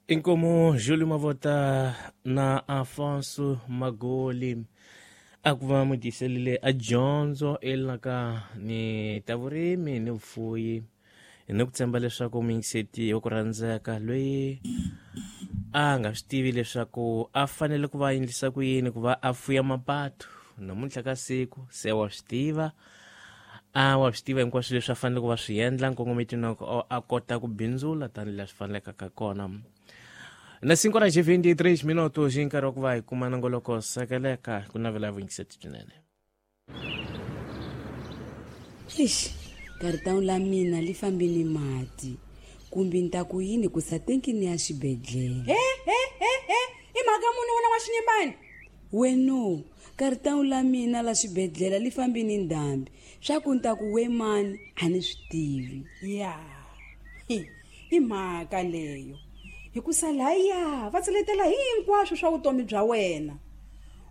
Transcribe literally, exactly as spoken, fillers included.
Inkomu Júlio Mavota na Afonso Magoli a ku va mu tiselile a dyondzo elanaka ni ta vurimi ni vufuyi ni ku tshemba leswaku muyingiseti wa ku rhandzeka loyi a nga swi tivi leswaku a fanele ku va endlisa ku yini ku va a fuya mapatu namuntlha ka siku se wa swi tiva a wa swi tiva hinkwaswo leswi a fanele ku va swi endla nkongometo na a kota ku bindzula tanihileswi fanelekaka kona. Na cinco horas e vinte e três minutos hi nkarhi wa ku va hi kuma nongoloko sekeleka ku navela vuyingiseti byinene. Eish, karitawu la mina li fambi ni mati kumbe ni ta ku yini ku sa tenkini ya xibedhlele. He he he he i mhaka muni wena wa xinyimbani? Weno karitawu la mina la xibedhlele li fambi ni ndhambi swa ku ni ta ku we mani a ni swi tivi. Ya i mhaka leyo hikusa laya va tseletela hinkwaswo swa vutomi bya wena.